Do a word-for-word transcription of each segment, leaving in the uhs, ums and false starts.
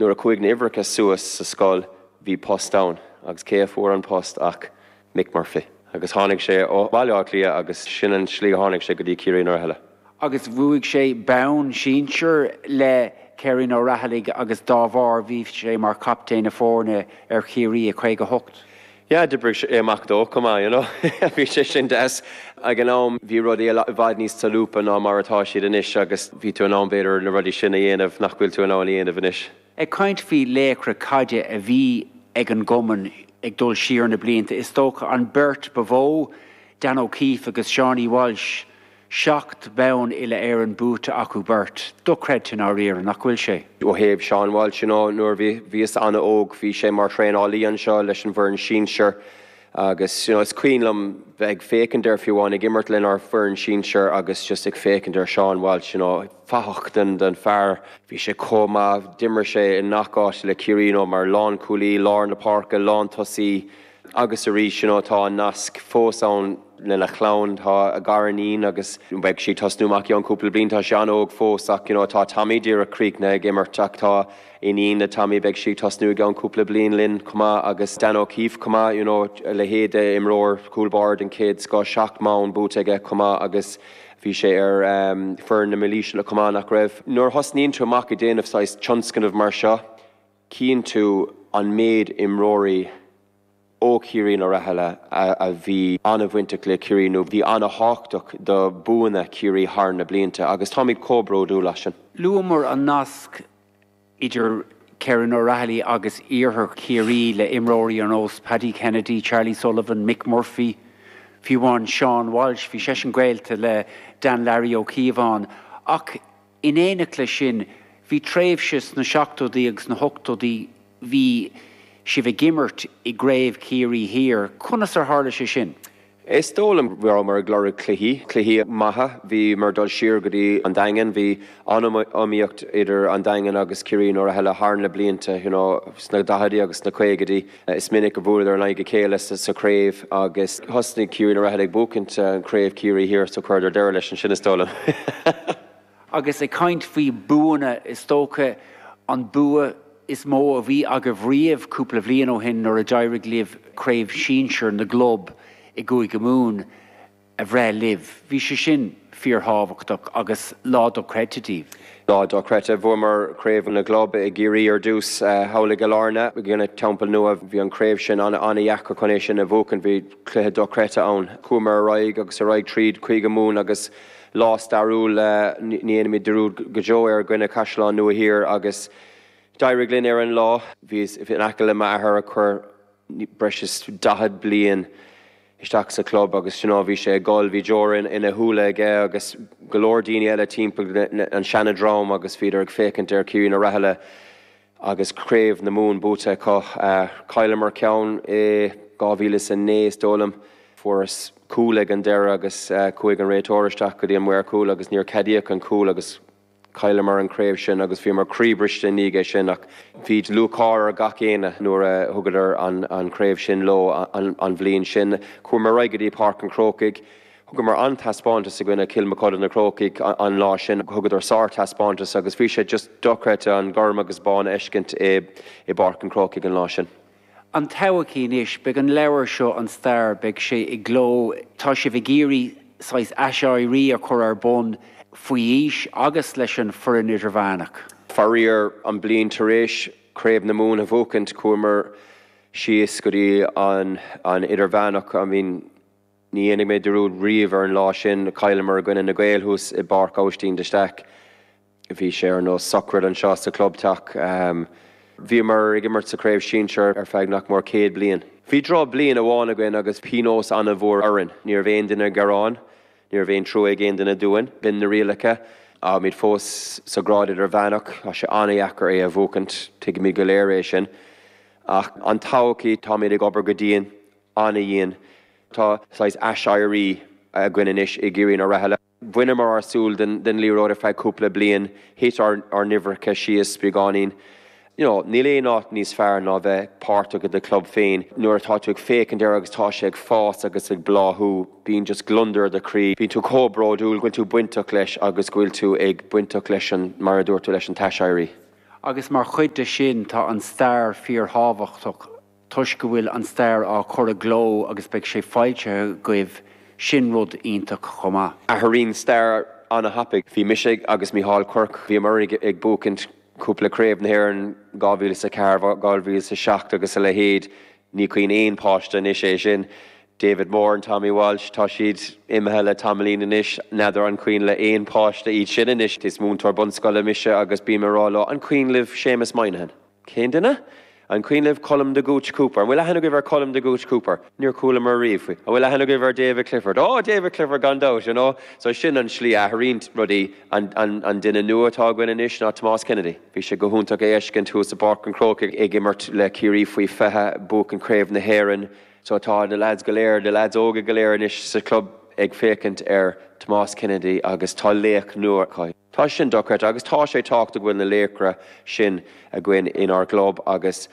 Nuair a chuaigh na huimhreacha suas sa scoil, bhí post ann, agus cé a fuair an post ach Mick Murphy. Agus tháinig sé ó Bhaile Átha Cliath agus sin an slí a tháinig sé go dtí Ciarraí na Raghallaigh. Agus bhuaigh sé bonn sinsir le Ciarraí na Raghallaigh agus dá bharr bhí sé mar chaptaen na foirne ar Chiarraí i caoga hocht. Yeah, d'oibrigh sé amach dó chomh maith, you know. Bhí sé sin deas. Ag an am bhí rudaí i bhfad níos solúbtha ná mar atá siad anois agus bhí tú in ann b'fhéidir na rudaí sin a dhéanamh nach bhfuil tú in ann a dhéanamh anois. Ag caint faoi laochra caide a bhí ag an gcumann ag dul siar na blianta, is dócha an bheirt ba mhó, Dan O'Keefe agus Seánie Walsh, seacht mbonn uile-Éireann buaite acu beirt. Dochreidte i ndáiríre, nach bhfuil sé? Ó thaobh Seán Walsh, you know, nuair bhí bhíos an-óg, bhí sé mar thraenálaí anseo leis an bhfoireann sinsir agus you know, is cuimhin liom bheith ag féachaint air fiú amháin ag imirt lenár bhfoireann sinsir agus just ag féachaint ar Seán Walsh, you know, fathach den den fear. Bhí sé chomh maith, d'imir sé i ngach áit le Ciarraí mar lánchúlaí, lár na páirce, lántosaí, agus arís you know, tá an nasc fós ann lena chlann, tá a ghariníon agus beidh sí ag tosnú amach i gceann cúpla bliain, tá sé an-óg fós ach you know, tá Tommy díreach críochnaithe ag imirt ach tá iníon le Tommy, beidh sí ag tosnú i gceann cúpla bliain linn chomh maith agus Dan O'Keefe chomh maith, you know, a leithéid d'imreoir cúl báire den chéad scoth, seacht mbonn buaite aige chomh maith agus bhí sé ar um, foireann na mílaoise chomh maith, nach raibh. Nuair thosnaíonn tú amach ag déanamh saghas tionscnamh mar seo, cíonn tú an méid imreoirí ó Chiarraí na Raghallaigh a bhí an-bhainteach le Ciarraí nó bhí an-tábhachtach do bhuanna Chiarraí thar na blianta agus táimid chomh bródúil as sin. Luamar an nasc idir Ciarraí na Raghallaigh agus iarthar Chiarraí le imreoirí ar nós Paddy Kennedy, Charlie Sullivan, Mick Murphy, fiú amháin Seán Walsh, bhí seisean gaolta le Dan Larry Ó Cíobháin, ach in éineacht leis sin bhí tréimhse sna seachtóidí agus na hochtóidí bhí sibh ag imirt i gCraobh Chiarraí Thiar. Conas ar tharla sé sin? Is dóigh liom bhíomar ag lorg cluichí, cluichí maithe, bhíomar ag dul siar go dtí an Daingean, bhí an-iomaíocht idir an Daingean agus Ciarraí na Raghallaigh thar na blianta, you know, sna daichidí agus sna caogaidí. Is minic a bhuaileadar in aghaidh a chéile sa, sa chraobh agus thosnaigh Ciarraí na Raghallaigh ag buachaint an Craobh Chiarraí Thiar so chuireadar deireadh leis ansin, is dóigh liom. Agus ag caint faoi buanna, is dócha an bua is mó a bhí agaibh riamh cúpla bliain ó shin nuair a d'éirigh libh Craobh Sinsir na gClub i gCúige Mumhan a bhreith libh. Bhí sé sin fíorthábhachtach agus lá dochreidte daoibh. Lá dochreidte. Bhuamar Craobh na gClub i gCiarraí ar dtús thall i gCill Airne i gcoinne Teampall Nua. Bhí an craobh sin an-dheacair chun é sin a bhuachan, bhí cluiche dochreidte ann. Chuamar ar aghaidh agus ar aghaidh tríd Cúige Mumhan agus lá stairiúil, ní dhéanfaimid dearúd go deo ar i gcoinne Caisleán Nua Thiar agus d'éirigh linn ar an lá. Bhíos in aice le m'athair a chuir breis is daichead bliain isteach sa chlub agus you know, bhí sé ag gol, bhí deora ina shúile aige agus go leor daoine eile timpeall an seanadream agus bhíodar ag féachaint ar Ciarraí na Raghallaigh agus Craobh na Mumhan buaite acu. Chailleamar ceann i dhá mhíle is a naoi is dóigh liom. Fuarthas cúl ag an deireadh agus chuaigh an réiteoir isteach go dtí an maor cúil agus níor ceadaíodh an cúl agus chailleamar an craobh sin agus bhíomar croíbhriste i ndiaidh é sin ach bhí lúcháir ar gach éinne nuair a thugadar an, an craobh sin leo an, an bhliain sin. Chuamar ar aghaidh go dtí Páirc an Chrócaigh. Thugamar an-taispeántas i gcoinne Cill Mochuda na Crócaigh an lá sin, thugadar sár-taispeántas agus bhí sé just dochreidte an gorm agus bán a fheiscint i, i bPáirc an Chrócaigh an lá sin. An todhchaí anois, beidh an leabhar seo an stair, beidh sé i gcló, tá sibh ag iarraidh saghas aiséirí a chur ar bun faoi aois agus leis an foireann idirmheánach. Faraor, an bliain tar éis Craobh na Mumhan a bhuachaint, chuamar síos go dtí an, an idirmheánach. I mean, ní dhéanfaidh mé dearúd riamh ar an lá sin, chailleamar i gcoinne na Gaeil thuas i bPáirc Aibhistín de Staic. Bhí sé ar nós sochraid anseo sa chlubteach. Bhíomar ag imirt sa chraobh sinsir ar feadh nach mór céad bliain. Bhí drochbhliain amháin againn agus pionós an-mhór orainn. Ní raibh aon duine ag gearán, ní raibh aon trua ag aon duine dúinn. B'in na rialacha. Táimid fós sa ghrád idirmheánach, tá sé an-dheacair é a bhuachaint, tuigimid go léir é sin. Ach an todhchaí, táimid ag obair go dian, an-dhian. Tá saghas aiséirí againn anois i gCiarraí na Raghallaigh. Bhaineamar ár súil den, den liathróid ar feadh cúpla bliain, thit ár, ár n-uimhreacha síos beagáinín. You know, níl aon áit níos fearr ná bheith páirteach i do chlub féin. Nuair atá tú ag féachaint air agus tá sé ag fás agus ag bláthú, bíonn just gliondar i do chroí. Bíonn tú chomh bródúil go bhfuil tú bainteach leis agus go bhfuil tú ag bainteach leis an, mar a dúirt tú, leis an t-aiséirí. Agus mar chuid de sin tá an stair fíorthábhachtach toisc go bhfuil an stair á cur i gcló agus beidh sé foilsithe agaibh sin rud iontach chomh maith. Athraíonn stair an-thapaidh. Bhí mise agus Micheál Quirke bhíomar ag buachaint cúpla craobh na hÉireann dhá mhíle is a ceathair, dhá mhíle is a seacht agus a leithéid. Ní cuimhin aon páiste anois é sin. David Moore and Tommy Walsh, tá siad imithe le tamaillín anois, n'fheadar an cuimhin le aon páiste iad sin anois. Is múinteoir bunscoile mise agus bím ag rá leo, an cuimhin libh Séamus Moynihan? Cén duine? An cuimhin libh Colm de Gooch Cooper? An bhfuil aithne agaibh ar Colm de Gooch Cooper? Níor chualamar riamh faoi. An bhfuil aithne agaibh ar David Clifford? Oh, David Clifford gan dabht, you know. So sin an slí a athraíonn rudaí. An, an, an duine nua atá againn anois ná Tomás Kennedy. Bhí sé go hiontach é a fheiscint thuas i bPáirc an Chrócaigh ag imirt le Ciarraí faoi fiche, buachan Craobh na hÉireann. So tá na lads go léir, na lads óga go léir anois sa chlub ag féachaint ar Tomás Kennedy agus tá laoch nua acu. Tá sin dochreidte agus tá sé tábhachtach go bhfuil na laochra sin againn inár gclub agus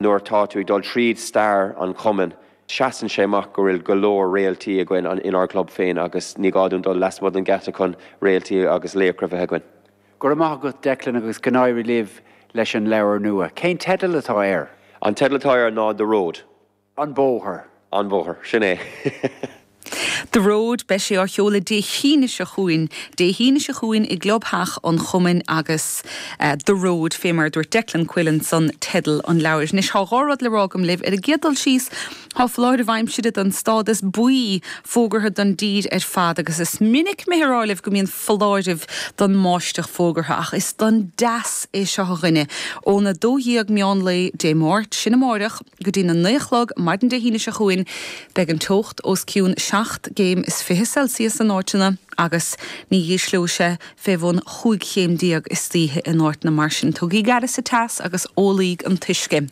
nuair atá tú ag dul tríd stair an chumainn, seasann sé amach go bhfuil go leor réaltaí againn inár gclub féin agus ní gá dúinn dul lasmuigh den gheata chun réaltaí agus laochra a bheith againn. Go raibh maith agat Declan agus go n-éirí libh leis an leabhar nua. Cén teideal atá air? An teideal atá air ná The Road. An Bóthar. An Bóthar, sin é. The Road, beidh sé á sheoladh Dé hAoine seo chugainn, Dé hAoine seo chugainn i gClubtheach an Chumainn agus The Road, fé mar a dúirt Declan Quillen san teideal an leabhair. Anois tá dhá rud le rá agam libh. Ar an gcéad dul síos, tá foláireamh aimsire den stádas buí fógartha don dtír ar fad agus is minic mé ag rá libh go mbíonn foláireamh don mbáisteach fógartha ach is don dteas é seo a dhuine. Óna dó dhéag meán lae Dé Máirt, sin amáireach, go dtína naoi a chlog maidin Dé hAoine seo chugainn, beidh an teocht os cionn seacht gcéim is fiche Celsius in áiteanna agus ní hísleoidh sé fé bhun chúig chéim déag istoíche in áiteanna mar sin. Tugaigí aire sa teas agus ólaíg an t-uisce.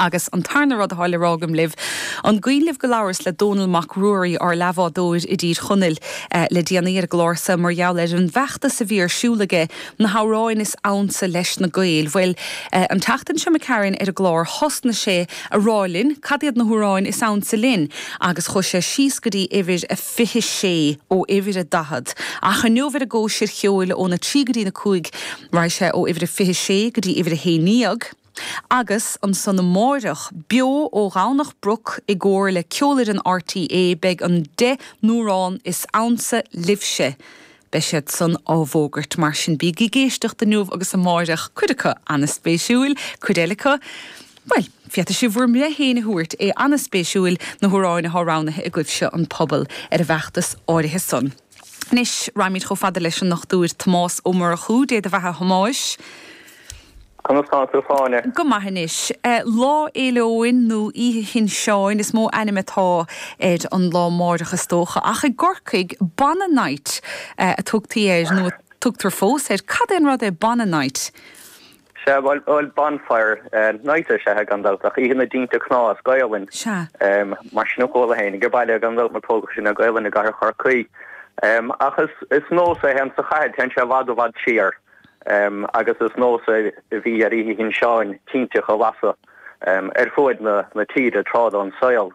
Agus an tarna rud atá le rá agam libh, an gcuimhin libh go labhras le Dónall Mac Ruairí, ár leathbhádóir i dTír Chonaill, le déanaí ar an gclár so mar gheall ar an bhfeachtas a bhí ar siúl aige, na hamhráin is ansa leis na Gaeil. Bhuel, an tseachtain seo imigh tharainn ar an gclár thosnaigh sé a rá linn cad iad na hamhráin is ansa linn agus chuaigh sé síos go dtí uimhir a fiche sé ó uimhir a daichead. Ach inniu ar an gcóisir cheoil óna trí go dtí na cúig raghaidh sé ó uimhir a fiche sé go dtí uimhir a haon déag. Agus ansan amáireach, beo ó Dhomhnach Broc i gcomhar le Ceolfhoireann RTÉ beidh an deich n-amhrán is ansa libhse. Beidh siad san á bhfógairt mar sin bígí ag éisteacht inniu agus amáireach, cuid acu an-spéisiúil, cuid eile acu, bhuel, féadfaidh sibh bhur mbreith féin a thabhairt, é an-spéisiúil na hamhráin atá roghnaithe agaibhse an pobal ar an bhfeachtas áirithe san. Anois, raghaimid chomh fada leis an nDochtúir Tomás Ó Murchú, Dé do bheatha a Thomáis. Conas tá tú, a Shláine? Go maith anois. Lá Fhéile Eoin nó Oíche Shin Seáin is mó ainm atá ar an lá amáireach is dócha, ach i gCorcaigh Bonagh Night a tugtaí air nó a tugtar fós air. Cad é an rud é Bonagh Night? Sea, bhuel, bhuel, Bonfire Night is ea gan dabht, ach Oíche na dTinte Cnámh as Gaolainn. Sea. Mar sin a chuala féin ag baile gan dabht mar tógadh sinn le Gaolainn i gcathair Chorcaí. Ach is, is nós é féin sa chathair, téann sé i bhfad i bhfad siar. Agus is nós é a bhí ar Oíche Shin Seáin tinteacha a lasadh ar fuaid na tíre tráth den saol.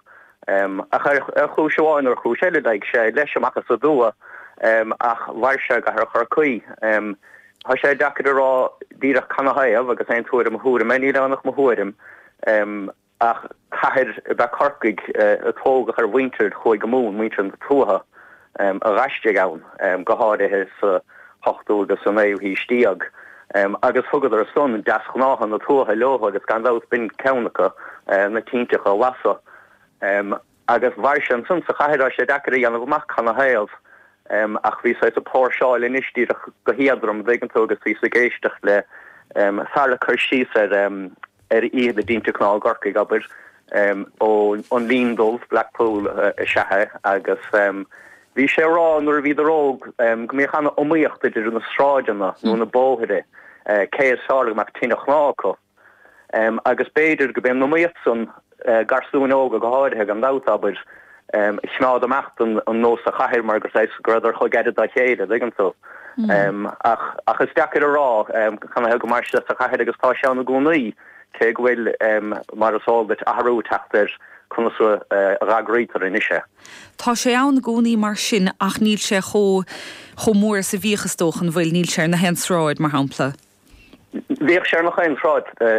Ach ar chúis amháin nó ar chúis eile d'éag sé leis amach as aduaidh ach mhair sé i gcathair Chorcaí. Tá sé deacair a rá díreach canathaobh agus aon tuairim mo thuairim é, níl ann ach mo thuairim. Ach cathair ab ea Corcaigh a tógadh ar mhuintir a chuaigh go Mumhan, muintir na tuaithe a d'aistrigh ann, go háirithe sa hochtú agus sa naoú haois déag, agus thugadar san deasghnátha na tuaithe leo agus gan dabht b'in ceann acu, na tinteacha a lasadh. Agus mhair sé ansan sa chathair, tá sé deacair a dhéanamh amach canathaobh, ach bhíos ag póirseáil anois díreach go héadrom, an dtuigeann tú, agus bhíos ag éisteacht le fear ag cur síos ar ar Oíche na dTinte Cnámh i gCorcaigh, abair, ó an Linn Dubh, Blackpool is ea é, agus bhí sé ag rá nuair a bhíodar óg go mbíodh an-iomaíocht idir na sráideanna nó na bóithre cé is fearr go mbeadh tine chnámh acu. Agus b'fhéidir go b'é an iomaíocht san, garsúin óga go háirithe, gan dabht, abair, a choimeád amach an nós sa chathair mar gur saghas go rabhadar chomh gairid dá chéile, an dtuigeann tú. Ach ach is deacair a rá canathaobh go mair sé sa chathair agus tá sé ann i gcónaí, cé go bhfuil, mar is eol duit, athrú ag teacht ar conas a dh'eagraítear anois é. Tá sé ann i gcónaí mar sin ach níl sé chomh chomh mór is a bhíodh is dócha, an bhfuil? Níl sé ar na haon sráid, mar shampla. Bhíodh sé ar nach aon sráid